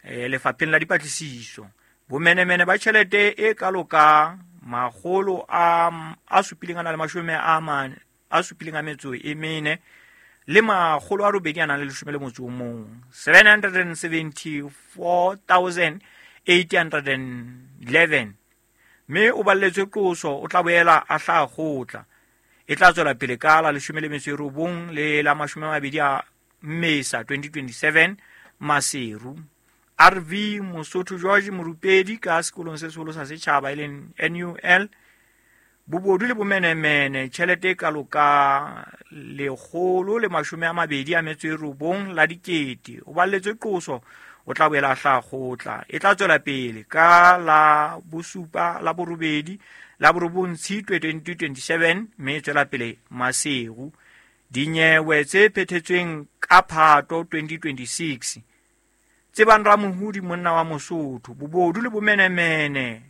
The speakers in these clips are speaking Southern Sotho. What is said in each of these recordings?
Lefapheng la dipatlisiso. Bomenemene ba tjhelete e kalo ka makgolo a supileng a na le mashome a mane a supileng a metso e mene le makgolo a robedi a nang le leshome le motso o mong, 774,811, mme o balletswe qoso. O tla boela a hlaha kgotla e tla tswela pele ka la 19 le la 20 a Mmesa 2027, Maseru. RV Mosotho George, morupedi ka sekolong se seholo sa setjhaba e leng NUL. Bobodu le bomenemene, tjhelete e kalo ka 129 la dikete, o balletswe qoso. O tla boela a hlaha kgotla e tla tswela pele ka la bosupa, la borobedi, la borobong Tshitwe 2027, mme e tswela pele Maseru. Dinyewe tse phethetsweng ka Phato 2026. Tsebang Ramohudi, monna wa Mosotho, bobodu le bomenemene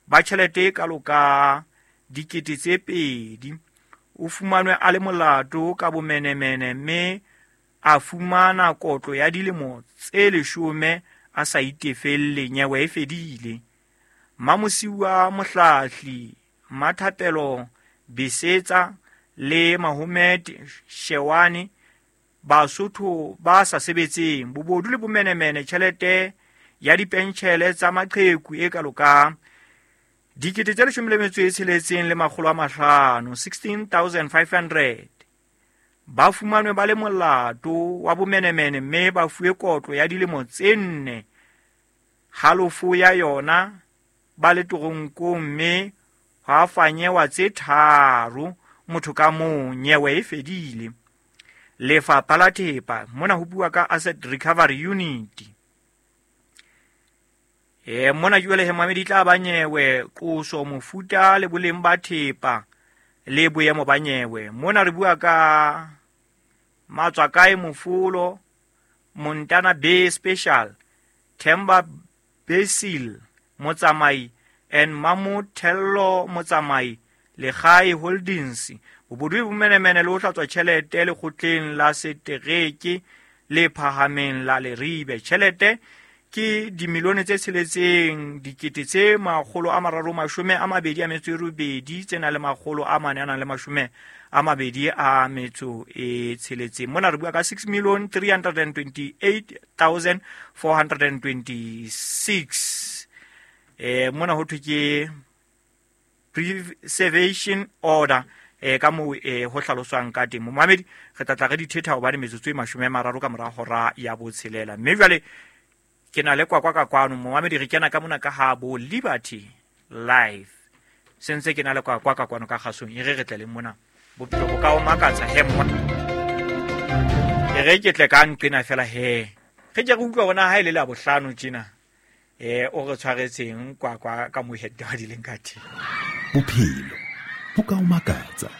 ba tjhelete e kalo ka 2000, o fumanwe a le molato ka bomenemene mme a fumana kotlo ya dilemo tse 10 a sa itefelle. Nyewe e fedile. Mamosiwa Mohlahli, Mathapelo Besetsa le Mahomed Shewane, Basotho ba sa sebetseng, bobodu le bomenemene, tjhelete ya dipentjhele tsa maqheku e kalo ka 16 500, 16,500, ba fumanwe ba le molato wa bomenemene mme ba fuwe kotlo ya dilemo tse 4, halofo ya yona ba le toronkong, mme hwa fanyewa tse 3 motho ka mong. Nyewe e fedile. Lefapha la Thepa, mona ho bua ka Asset Recovery Unit. Mona jwale he mamedi tla ba nyewe, qoso, mofuta le boleng ba thepa le boemo ba nyewe. Mona re bua ka Matswakae Mofolo, Montana Bay Special, Themba Basil Motsamai and Mamothello Motsamai, Legae Holdings, bobodu le bomenemene le ho hlatswa tjhelete lekgotleng la setereke le phahameng la Leribe. Tjhelete ke dimilione tse 6 328 tse nang le 400 a nang le 26. Mona re bua ka 6 328 426. Mona ho thwe ke preservation order, ka moo ho hlaloswang ka teng. Momamedi, re tla tla re dithetha hobane metsotso e 30 ka mora hora ya 6, mme jwale ke na le Kwakwa ka kwano. Momamedi, re kena ka mona ka ha bo Liberty Life, sentse ke na le Kwakwa ka kwano ka kgasong. E re re tle le mona, bophelo bo ka o makatsa he mona. E re ke tle ka nqena fela he re ke re utlwa bona ha e le la bohlano tjena o re tshwaretseng Kwakwa ka mo heta di leng ka teng. Bophelo bo ka o makatsa,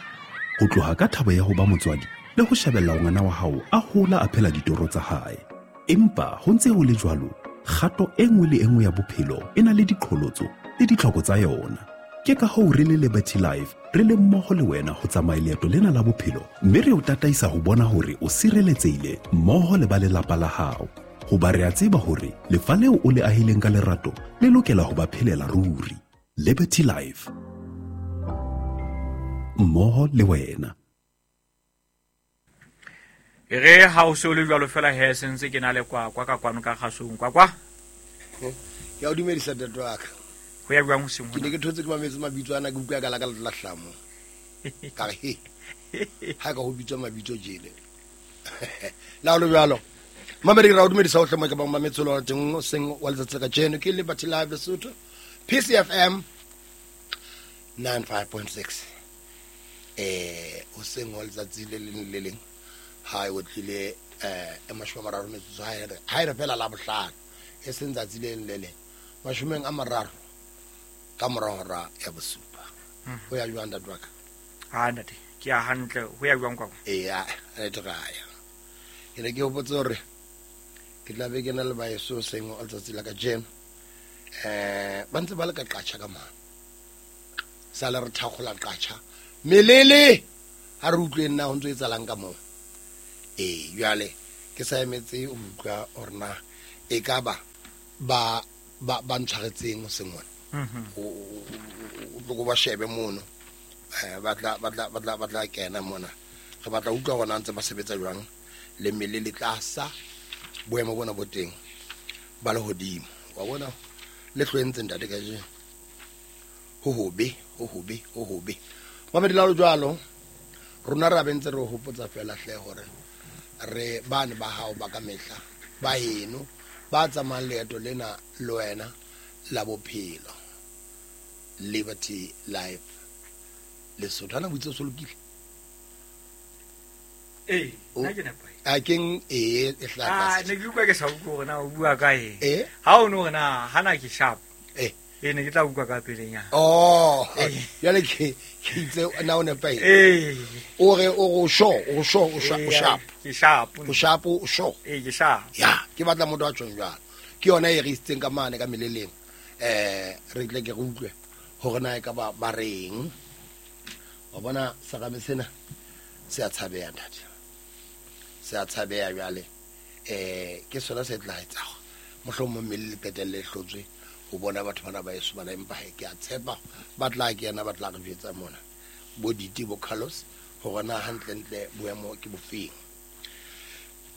ho tloha ka thabo ya ho ba motswadi le ho shebella ngwana wa hao a hola a phela ditoro tsa hae. Empa ho ntse ho le jwalo, kgato e nngwe le e nngwe ya bophelo e na le diqholotso le ditlhoko tsa yona. Ke ka hoo re le Liberty Life re le mmoho le wena ho tsamaya leeto lena la bophelo, mme re o tataisa ho bona hore o sireletsehile mmoho le ba lelapa la hao, hoba re a tseba hore lefa leo o le ahileng ka lerato le lokela ho ba phelela ruri. Liberty Life, mmoho le wena. E re ha o se o le jwalo fela he, sentse ke na le Kwakwa ka kwano ka kgasong. Kwakwa. Ke a o dumedisa, ntate wa ka. Ho ya jwang hoseng? Ke ne ke thotse ke mametse mabitso ana, ke utlwa ka la ka la hlamo, ka re he ha ka ho bitswa mabitso jele la ho le jwalo. Mamedi, ra o dumedisa ohle mo ke bang mametse lo teng seng wa letsatsi la kajeno. Ke Liberty Live Lesotho, PCFM 95.6, hoseng wa letsatsi le leng le leng ha e otlile e 30 metsotso ha e re fela la bohlano, e seng tsatsi le leng le leng, 30 ka mora hora ya 7. Ho ya jwang, ntate wa ka? Ha ntate, ke ya hantle. Ho ya jwang, Kwakwa? Eya, re try. Ke ne ke hopotse hore ke tla be ke na le baeso seng wa letsatsi la kajeno, ba ntse ba le ka Qacha ka mane, sa le re thakgola Qacha melele, ha re utlweng na ho ntso etsalang ka moo. Ee, jwale ke sa emetse ho utlwa hore na e ka ba ba ba ba ntshwaretseng hoseng hona. O tlo ba shebe mono, ba tla kena mona. Re batla utlwa hore na ntse ba sebetsa jwang le mmele le tlasa boemo bona bo teng ba lehodimo. Wa bona le hlwentse ntate kajeno. Ho hobe. Mamedi la jwalo rona ra bentse re hopotsa fela hle hore re bane ba hao ba ka mehla ba heno ba tsamayang leeto lena le wena la bophelo. Liberty Life Lesotho. Ana boitse so lokile? Nna ke nepahetse. A keng e hla ne ke utlwa ke sa utlwe hore na o bua ka eng. Ha o no hore na hana ke sharp. Ne ke tla utlwa ka pelenyana. Oh, jwale ke itse na o nepahetse. O re o sure, o sharp. Ke sharp. O sharp, o sure. Ke sharp. Ya, ke batla motho a tjhong jwalo. Ke yona e re isitseng ka mane ka meleleng. Re tle ke re utlwe hore na e ka ba reng. Wa bona serame sena se a tshabeha ntate. Se a tshabeha jwale. Ke sona se tla etsa mohlomong mmele le qetelle hlotswe ho bona batho bana ba eso bana, empa ke a tshepa ba tla kena ba tla re jwetsa mona bo Diti bo Carlos hore na hantlentle boemo ke bofeng.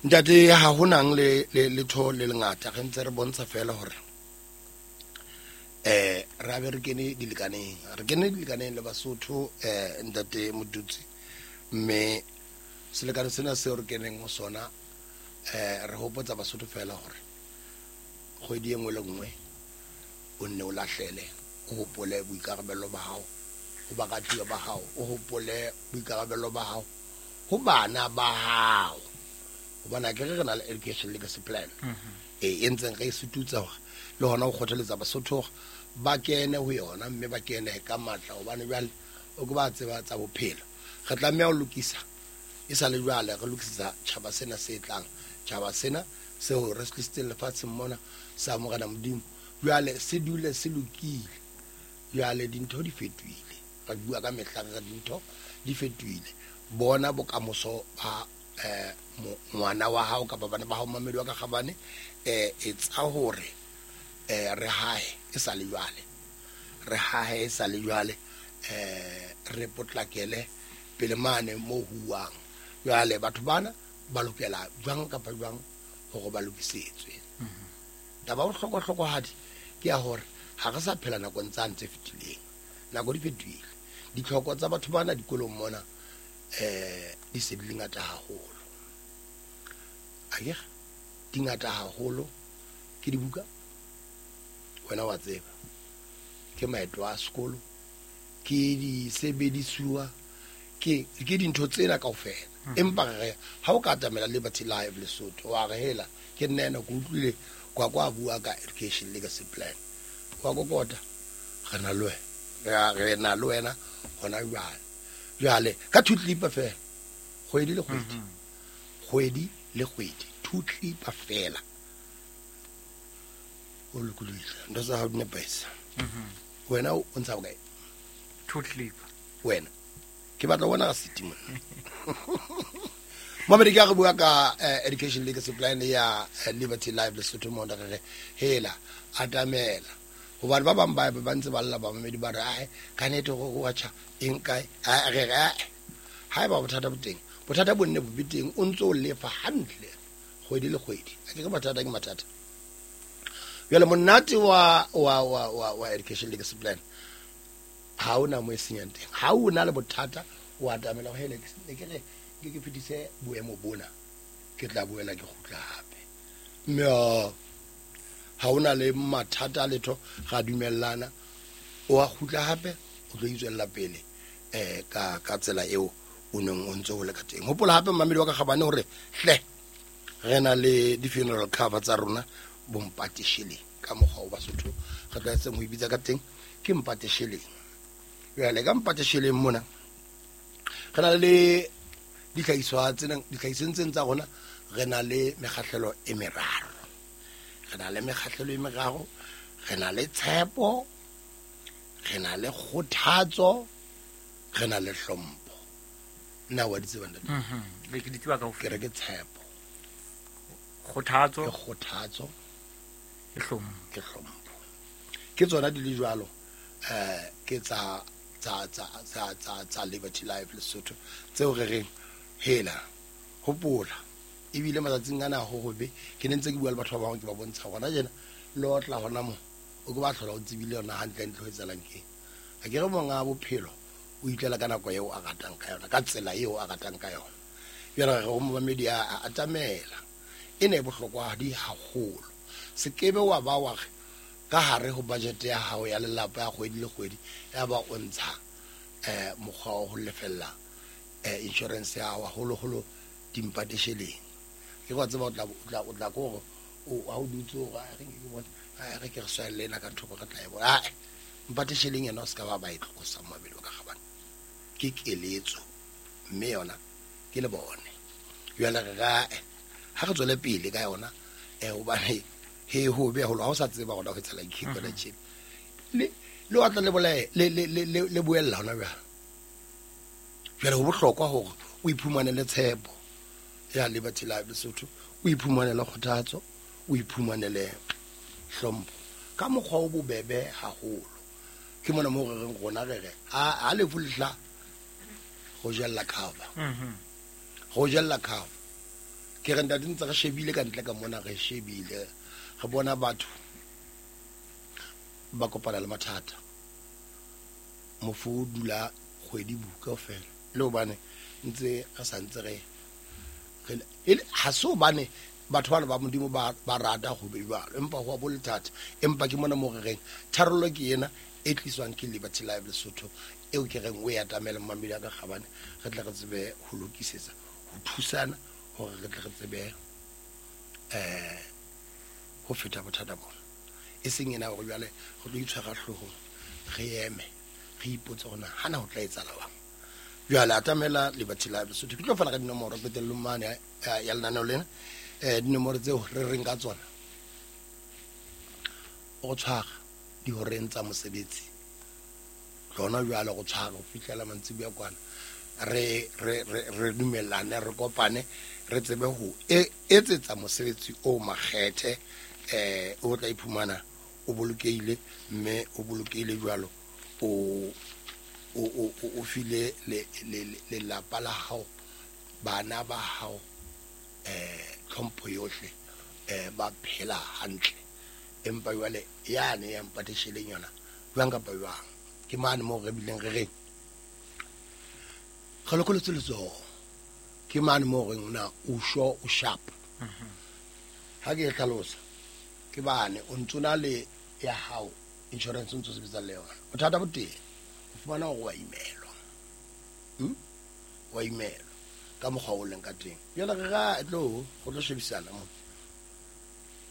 Ntate ha ho nang le letho le lengata, re ntse re bontsha fela hore re be re kene dilekaneng, le Basotho ntate Motutsi, mme selekane sena seo re keneng ho sona re hopotsa Basotho fela hore kgwedi e nngwe le nngwe o nne o lahlele, o hopole boikarabelo ba hao ho baratuwa ba hao, o hopole boikarabelo ba hao ho bana ba hao. Hobane akere re na le education legacy plan e ntseng re e sututsa hore le hona ho kgothaletsa Basotho hore ba kene ho yona, mme ba kene ka matla, hobane jwale o ke ba tseba tsa bophelo. Re tlameha ho lokisa e sa le jwale, re lokisetsa tjhaba sena se tlang, tjhaba sena seo re se tlisitseng lefatsheng mona sa Morena Modimo. Jwale se dule se lokile. Jwale dintho di fetohile, re bua ka mehla re dintho di fetohile. Bona bokamoso ba ngwana wa hao kapa bana ba hao, mamedi wa ka kgabane, etsa hore re hae e sa le jwale, re potlakele pele mane mo huwang. Jwale batho bana ba lokela jwang kapa jwang hore ba lokisetswe. Taba ya bohlokwa-hlokwahadi ke ya hore ha re sa phela nakong tsane tse fetileng. Nako di fetohile. Ditlhoko tsa batho bana dikolong mona di se di le ngata haholo. Akere di ngata haholo. Ke dibuka, wena wa tseba, ke maeto a sekolo, ke disebedisuwa, ke dintho tsena kaofela. Empa re ha o ka atamela Liberty Live Lesotho wa re hela ke nna ena ke utlwile kwa kwa bua ka education legacy plan, wa kokota re na le wena, re na le wena hona jwale. Jwale ka 2 clip fela kgwedi le kgwedi, kgwedi le kgwedi 2 clip fela o lokolohile. Ntho tsa hao di nepahetse. Wena o ntsha bokae? 2 clip wena ke batla ho bona rasiti monna. Mamedi, ke re bua ka education legacy plan ya Liberty Live Lesotho mona, re re hela atamela hobane ba bang ba ntse ba lla ba mamedi ba re ae ka nete go watcha eng kae, re re ha eba bothata bo teng, bothata bo nne bo be teng, o ntso o lefa hantle kgwedi le kgwedi. A ke re mathata ke mathata. Jwale monate wa education legacy plan ha ona mo e senyang teng. Ha o na le bothata o atamela ho hele ke re ke fetise boemo bona, ke tla boela ke kgutla hape. Mme ha ona le mathata letho, ra dumellana, o a kgutla hape, o tlo itswella pele ka tsela eo o neng o ntse ho le ka teng. Hopola hape mamedi wa ka kgabane hore hle re na le di-funeral cover tsa rona bo Mpate Shilling ka mokgwa o Basotho re tlwaetseng ho ibitsa ka teng, ke Mpate Shilling. Jwale ka Mpate Shilling mona re na le dihlahiswa tsena, dihlahisweng tsena tsa rona re na le mekgahlelo e meraro. Re na le mekgahlelo e meraro, re na le tshepo, re na le kgothatso, re na le hlompho. Nna wa di tseba ntate? Ke di tseba kaofela. Ke re ke tshepo, kgothatso, ke kgothatso Ke hlompho. Ke hlompho. Ke tsona di le jwalo, ke tsa tsa tsa tsa tsa tsa Liberty Life Lesotho tseo re reng hela hopola. Ebile matsatsing ana ho hobe, ke ne ntse ke bua le batho ba bangwe, ke ba bontsha gona jena le otla hona mo o ke ba tlhola o tsebile yona hantle ntle ho etsahalang keng. A ke re monga bophelo o itlela ka nako eo a ratang ka yona, ka tsela eo a ratang ka yona. Jwale re go momamedi a atamela, e ne e bohlokwadi haholo. Se kebe wa ba wa re ka hare ho budget ya hao ya lelapa ya kgwedi le kgwedi, ya ba o ntsha mokgwa wa ho lefella insurance ya hao, haholoholo dimpatesheleng. Ke wa tseba o tla ko hore o ha o dutse hore a re ke bone, a re ke re swelle ena ka thoko re tla e bona. Ae, mpatesheleng yena o se ka ba ba e tlosa momamedi wa ka kgabane. Ke keletso mme yona ke le bone. Jwale re ra ha re tswele pele ka yona, hobane he ho be holo ha o sa tseba hore ho etsahala eng kona tjena. Le wa tla le bolae le le le le buella hona jwale. Jwale ho bohlokwa hore o iphumanele tshepo ya Liberty Life Lesotho, o iphumanele kgothatso, o iphumanele hlompho ka mokgwa o bobebe haholo. Ke mona moo re reng rona re re ha lefu le hla go jella cover. Go jella cover. Ke re ntate ntse re shebile ka ntle ka mona, re shebile re bona batho ba kopana le mathata. Mofu o dula kgwedi buka kaofela, le hobane ntse re sa ntse re ha se hobane batho bana ba Modimo ba rata ho be jwalo, empa ho a bo le thata. Empa ke mona moo re reng tharollo ke ena e tliswang ke Liberty Life Lesotho, eo ke reng o e atamele momamedi wa ka kgabane, re tle re tsebe ho lokisetsa, ho thusana hore re tle re tsebe ho feta bothata bona. E seng ena hore jwale re tlo itshwara hloohong, re eme re ipotse hore na hana ho tla etsahala jwang. Jwale atamela Liberty Life Lesotho. Ke tlo fana ka dinomoro qetellong mane ya lenaneo lena. Dinomoro tseo re reng ka tsona, o tshwara dihoreng tsa mosebetsi lona jwale, go tshwara ho fihlela mantsiboya kwana, re re re dumellane, re kopane, re tsebe ho etsetsa mosebetsi o makgethe, o tla iphumana o bolokehile, mme o bolokehile jwalo o o o file le lelapa la hao, bana ba hao tlhompho yohle, ba phela hantle. Empa jwale yane ya mpatesheleng yona jwang kapa jwang, ke mane moo re bileng re reng re lokolotse letsoho, ke mane moo reng na o sho o sharp. Ha ke e hlalosa ke bane o ntso na le ya hao insurance o ntso sebetsa le yona, bothata bo teng o fumana hore wa imelwa, wa imelwa ka mokgwa o leng ka teng. Jwale re ra tlo go tlo shebisana mo,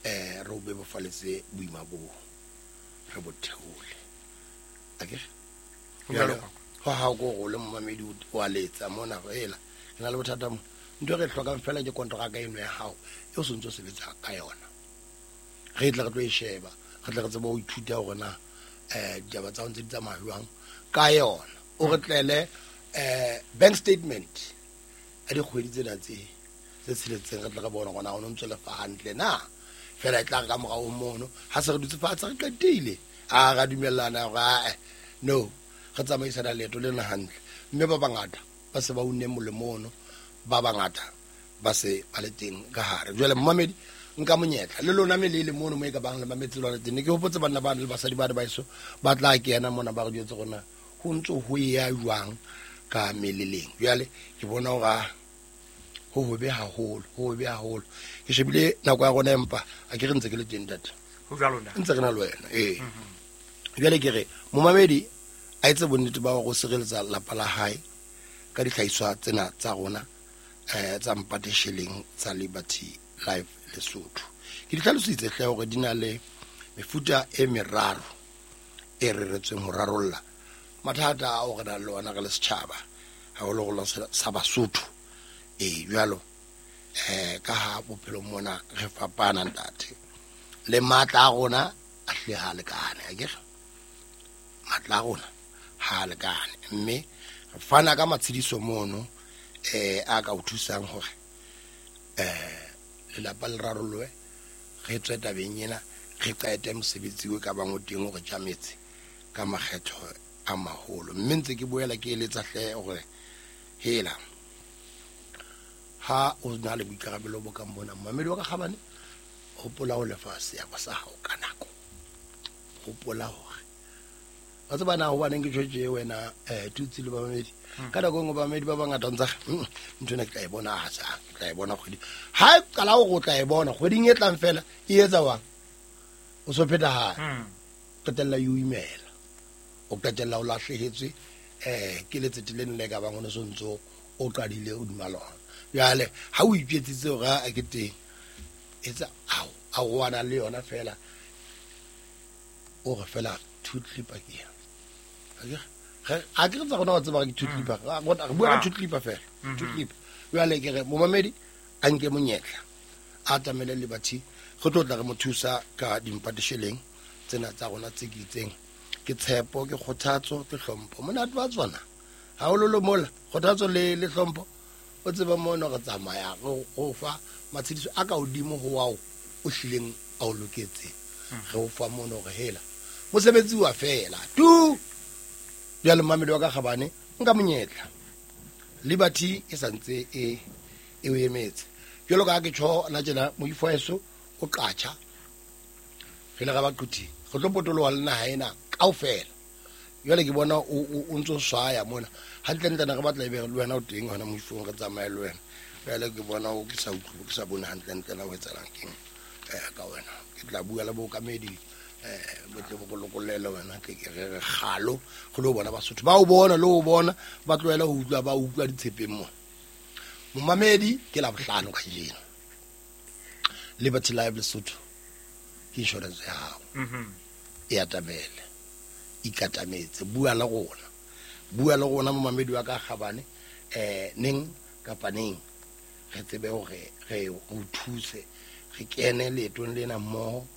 re o bebofaletse boima boo, re bo theole. Akere ho hao ko go le momamedi wa letsa mona go ela ke na le bothata mo, ntho e re hlokang fela ke kontraka eno ya hao e o sentse o sebetsa ka yona. Re tle re tlo e sheba, re tle re tsebe ho ithuta hore na ditaba tsa ho ntse di tsamaya jwang ka yona. O re tlele bank statement a dikgwedi tsena tse tsheletseng, re tle re bone hore na o no ntso lefa hantle na. Fela e tla re ka morao mono ha se re dutse fatshe re qetile, a ra dumellana hore no re tsamaisana leeto lena hantle. Mme ba bangata ba se ba unne molemo ono, ba bangata ba se ba le teng ka hare. Jwale momamedi nka monyetla le lona mele le mono mo e ka bang le mametse lona teng. Ke hopotse banna ba le basadi ba ba eso ba tla kena mona ba re jwetse rona ho ntso ho ya jwang ka meleleng. Jwale ke bona hore ho hobe haholo, ho hobe haholo. Ke shebile nako ya rona, empa a ke re ntse ke le teng ntate. Ho jwalo na? Ntse re na le wena, ee. Jwale ke re momamedi a etse bonnete ba hore o sireletsa lapa la hae ka dihlahiswa tsena tsa rona, tsa mpatesheleng tsa Liberty Life Lesotho. Ke di hlalositse hle hore di na le mefuta e meraro e reretsweng ho rarolla mathata ao re nang le ona re le setjhaba, haholoholo sa Basotho. Jwalo ka ha bophelo mona re fapana ntate, le matla a rona a hle ha lekane, akere matla a rona ha lekane, mme re fana ka matshediso mono a ka o thusang hore lelapa le rarolloe, re tswe tabeng ena, Re qete mosebetsi o ka bang o teng o re tjametse ka makgetho a maholo. Mme ntse ke boela ke eletsa hle hore hela ha o na le boikarabelo bo kang bona, momamedi wa ka kgabane, hopola ho lefa seabo sa hao ka nako. Hopola hore wa tseba na hobaneng ke tjho tje wena Tutsi le bamamedi. Ka nako e nngwe bamamedi ba bangata ntse ntho ena ke tla e bona ha sa, ke tla e bona kgwedi. Ha e qala hore o tla e bona kgweding e tlang fela, e etsa jwang? O so phetahala. Qetella e o imela. O qetella o lahlehetswe ke letsete leno le ka bang o ne so ntso o qadile hodima lona. Jwale ha o itjwetsitse hore a ke teng, etsa ao a roana le yona fela, o re fela two clipper ke ena. A ke re tsa rona wa tseba ke two clipper. Re bua ka two clipper fela. Two clipper. Jwale ke re momamedi a nke monyetla, a atamele Liberty, re tlo tla re mo thusa ka dimpatesheleng tsena tsa rona tse ke itseng. Ke tshepo, ke kgothatso, ke hlompho. Monate wa tsona hahololo mola kgothatso le hlompho. O tseba mono re tsamaya re go fa matshediso a ka hodimo ho ao o hlileng a o loketseng. Re o fa mono re hela mosebetsi wa fela tu. Jwale momamedi wa ka kgabane, nka monyetla, Liberty e santse e o emetse. Jwalo ka ha ke tjho na tjena, moifo wa heso o qatjha, re ile ra ba quthing, re tlo potoloha le naha ena kaofela. Jwale ke bona o ntso swaya mona hantlentle, ne re batla ebe le wena o teng hona moifong, re tsamaye le wena. Jwale ke bona o ke sa utlwe, ke sa bone hantlentle na ho etsahalang keng ka wena. Ke tla bua le bookamedi bo tle bo lokollele wena, tle ke re re kgalo re lo bona Basotho ba o bona le o bona, ba tlohele ho utlwa, ba utlwa ditshepeng mona. Momamedi, ke Labohlano kajeno, Liberty Live Lesotho ke insurance ya hao. E atamele, ikatametse, bua le rona, bua le rona momamedi wa ka kgabane, neng kapa neng re tsebe hore re o thuse, re kene leetong lena mmoho.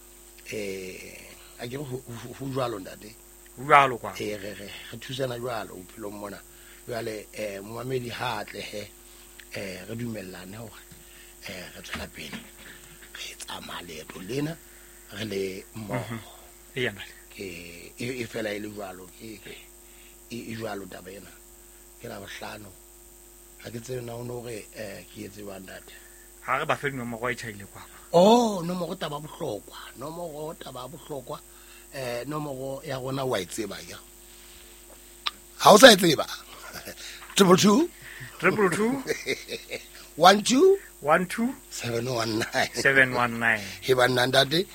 A ke re ho jwalo ntate? Ho jwalo kwa. Re thusana jwalo bophelong mona. Jwale momamedi ha a tlehe, re dumellane hore re tswela pele re tsamaya leeto lena re le mmoho. Eya, ntate. Ke e fela e le jwalo, ke e jwalo taba ena. Ke Labohlano. Ha ke tsebe na o no re ke etse jwang ntate. Ha re ba fe dinomoro e tjhaile kwa. Oh, nomoro taba bohlokwa, nomoro taba bohlokwa. Nomoro ya rona wa e tseba ya. Ha o sa e tseba. 222 222 12 12 719 719. He banna ntate,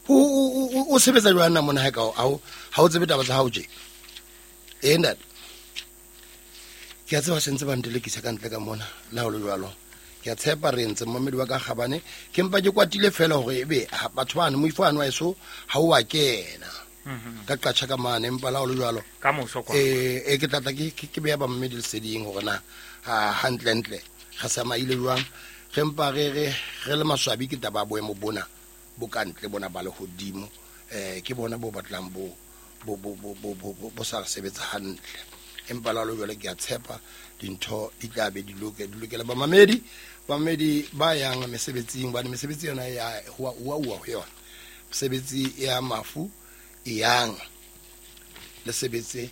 o sebetsa jwang na mona ha ka ha o tsebe taba tsa hao tje? Ntate. Ke a tseba se ntse ba ntelekisa ka ntle ka mona, le ha o le jwalo. Ke a tshepa re ntse momamedi wa ka kgabane, ke mpa ke kwatile fela hore ebe batho bano moifo ano wa eso ha o a kena. Ka qatjha ka mane, empa le ha o le jwalo. Ka moso kwa. Ke tla tla ke beha ba mmedi leseding hore na hantlentle re tsamaile jwang. Re mpa re le maswabi ke taba ya boemo bona bo ka ntle bona ba lehodimo. Ke bona bo batlang bo sa re sebetsa hantle. Empa le ha o le jwalo ke a tshepa dintho di tla be di lokela bamamedi. Bamamedi ba yang mesebetsing, bane mesebetsi yona ya ho uwa ho yona. Mesebetsi ya mafu e yang le sebetse,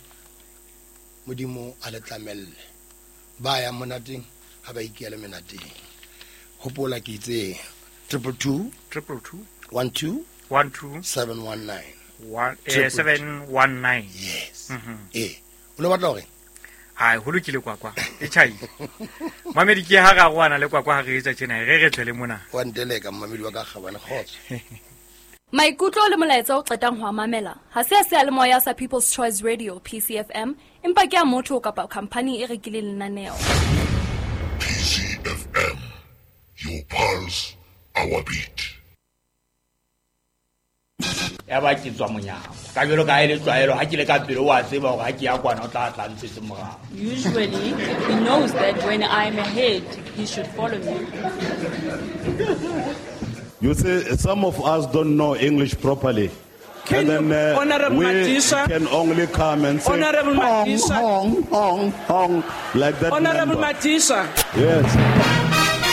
Modimo a le tlamelle. Ba yang monateng ha ba ikele menateng. Hopola ke itse 222 222 12 12 719. One, Triple two. 719. Yes. O ne batla hore? Ai, ho lokile kwakwa. E tjhaile. Mamedi ke ha ra roana le kwakwa ha re etsa tjena, re tlele mona. Wa nteleka mamedi wa ka kgabane, kgotso. Maikutlo le molaetsa o qetang ho a mamela ha se a seyalemoya sa People's Choice Radio PCFM, empa ke a motho kapa khampani e rekileng lenaneo. PCFM, your pulse, our beat. Ya ba ke tswa monyako. Ka jwalo ka ha e le tlwaelo, ha ke le ka pele o a tseba hore ha ke ya kwana o tla tla ntshetse morao. Usually, he knows that when I'm ahead, he should follow me. You see, some of us don't know English properly. Can And then, you, Honorable we Madisa, can only come and say, Honorable hong, Madisa, hong, hong, hong, like that Honorable number. Madisa. Yes.